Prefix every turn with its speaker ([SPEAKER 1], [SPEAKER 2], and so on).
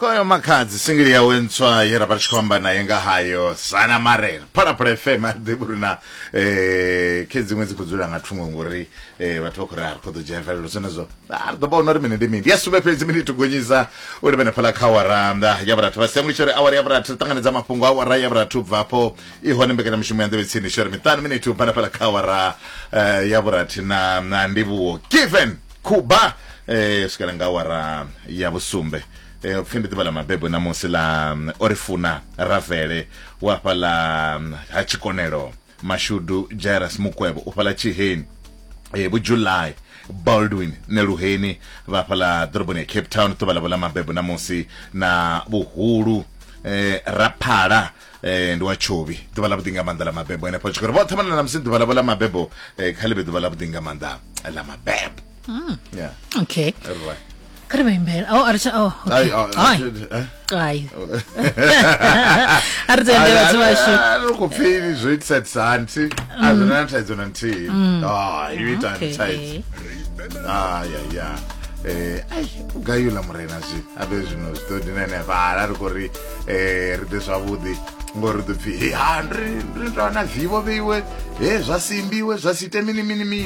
[SPEAKER 1] Koyo Makhadzi singili yawe ntswa ye ra vha ri tshi khou amba naye nga hayo Sana Marela Phalaphala FM a ḓivhi uri na khe dziṅwe dzi khou dzula nga thungo ngori vhathu vha khou ri a ri khou ḓo dzhia mvelelo zwenezwo a ri ḓo vhona uri mini ndi mini. Ndi ya sumbe fhedzi miniti u gonyisa u livhene fhaḽa kha awara ya vhurathu vha sianguli tsho ri awara ya vhurathu ri ṱanganedza mafhungo a awara ya vhurathu u bva afho i hone mbekanyamushumo ya nḓevhe tsini tsho ri miṱanu miniti u bva fhaḽa kha awara ya vhurathi na ndivhuwo Given Khuba swikela nga awara ya vhusumbe. Pfi ndi ḓuvha ḽa mabebo ṋamusi ḽa Orifuna Ravele wa fhaḽa ha Tshikonelo, Mashudu Jairus Mukwevho u fhaḽa Tshiheni, Vho July Baldwin Neluheni vha fhaḽa ḓoroboni ya Cape Town ḓuvha ḽavho ḽa mabebo ṋamusi na Vhuhulu Raphala ndi wa Tshovhi ḓuvha ḽa vhuḓi nga maanḓa ḽa mabebo henefho tshikoro vhoṱhe vhana ṋamusi ḓuvha ḽavho ḽa mabebo kha ḽi vhe ḓuvha ḽa vhuḓi nga maanḓa ḽa mabebo. Yeah.
[SPEAKER 2] Okay.
[SPEAKER 1] Right.
[SPEAKER 2] Kha ri vha imbela. Oh, a ri tsha oh, okay.
[SPEAKER 1] Ai, oh,
[SPEAKER 2] Hai.
[SPEAKER 1] eh?
[SPEAKER 2] Hai. A ri tende vhathu vhashu.
[SPEAKER 1] Ri khou pfi zwo itisa hani thi a zwi na thaidzo na nthihi. Ah, yo ita
[SPEAKER 2] Okay.
[SPEAKER 1] thaidzo. Ah, ya ya. Ai, u gayula murena zwi abe zwino zwi ḓo dina henefha hala ri khou ri ri ḓe zwavhuḓi ngori ri ḓo pfi he ha ri ri ndo na vivo vheiwe he zwa simbiwe zwa si ite mini mini mini.